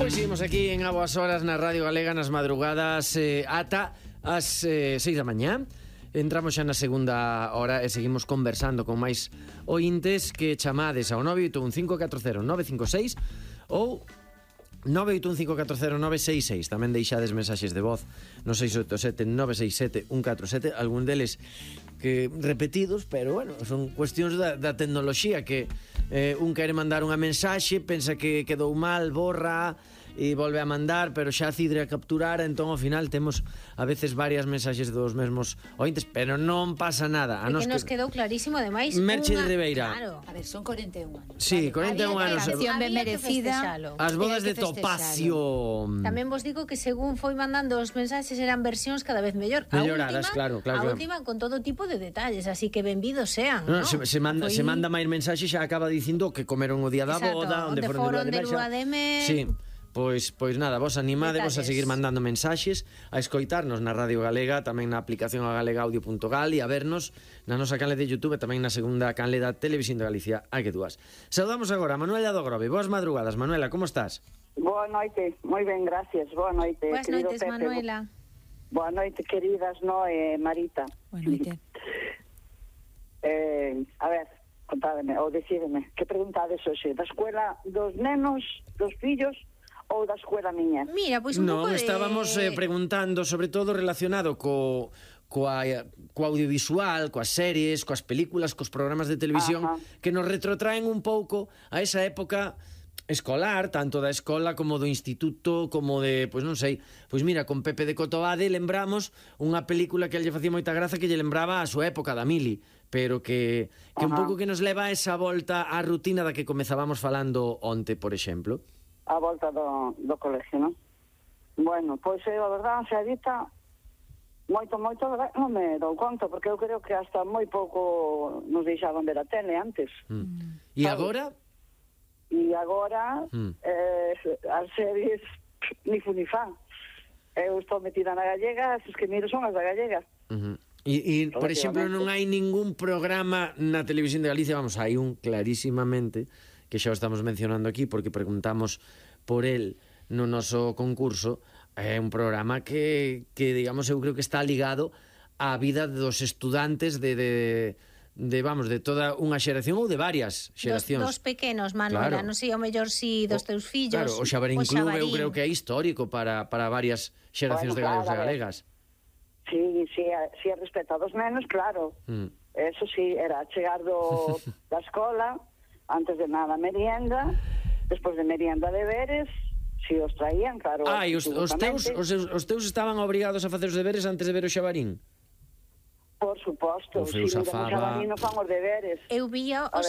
Pois seguimos aquí en A Boas Horas na Radio Galega nas madrugadas ata as 6 da mañá. Entramos xa na segunda hora e seguimos conversando con máis ointes que chamades ao 981540956 ou 981540966. Tamén deixades mensaxes de voz no 687-967-147, algún deles que repetidos, pero bueno, son cuestións da tecnoloxía que un quere mandar unha mensaxe, pensa que quedou mal, borra e volve a mandar, pero xa cidre a capturar, entón ao final temos a veces varias mensaxes dos mesmos ointes, pero non pasa nada. A nos que nos quedou clarísimo, ademais. Merche de Ribeira. Claro. A ver, son 41 anos. Sí, 41 anos. Canción ben merecida. As bodas de Topacio. Tamén vos digo que según foi mandando os mensaxes eran versións cada vez mellor. Melloradas, claro. A última con todo tipo de detalles, así que benvidos sean, ¿no? Se manda máis mensaxes, xa acaba dicindo que comeron o día da boda, onde foron de lua de mel. Sí. Pois nada, vos animadevos a seguir mandando mensaxes, a escoitarnos na Radio Galega, tamén na aplicación agalegaudio.gal e a vernos na nosa canle de YouTube e tamén na segunda canle da Televisión de Galicia, hai que dúas. Saudamos agora a Manuela do Grove. Boas madrugadas, Manuela, como estás? Boa noite, moi ben, gracias. Boa noite, boas noites, Pepe. Manuela. Boa noite, queridas Noé, Marita. Boa noite. A ver, contádeme, ou decideme, que preguntades hoxe? Da escuela dos nenos, dos fillos ou da escuela miña? Mira, pois un pouco de... estábamos preguntando sobre todo relacionado co audiovisual, coas series, coas películas, cos programas de televisión. Ajá. Que nos retrotraen un pouco a esa época escolar, tanto da escola como do instituto, como de, pois non sei, pois mira, con Pepe de Cotobade lembramos unha película que lle facía moita graza, que lle lembraba a súa época da Mili, pero que un pouco que nos leva a esa volta á rutina da que comezábamos falando onte, por exemplo. A volta do colegio, non? Bueno, pois a verdade, xa dita, moito, non me dou conta, porque eu creo que hasta moi pouco nos deixaban ver a tele antes. E agora? E agora as series ni fu ni fa. Eu estou metida na gallega, as que miro son as da gallega. E por exemplo, non hai ningún programa na Televisión de Galicia, vamos, hai un clarísimamente, que xa o estamos mencionando aquí porque preguntamos por el no noso concurso, é un programa que digamos, eu creo que está ligado á vida dos estudantes de toda unha xeración ou de varias xeracións. Dos pequenos, Manuela, non sei, o mellor si dos teus fillos. Claro, o Xabarín Club eu creo que é histórico para varias xeracións de galegos e galegas. Sí, respecto a dos nenos, claro. Eso sí, era chegar da escola, antes de nada merienda, despois de merienda deberes, si os traían, claro. E os teus estaban obrigados a facer os deberes antes de ver o Xabarín? Por suposto, si miramos a Xabarín non fan os deberes. Eu vía o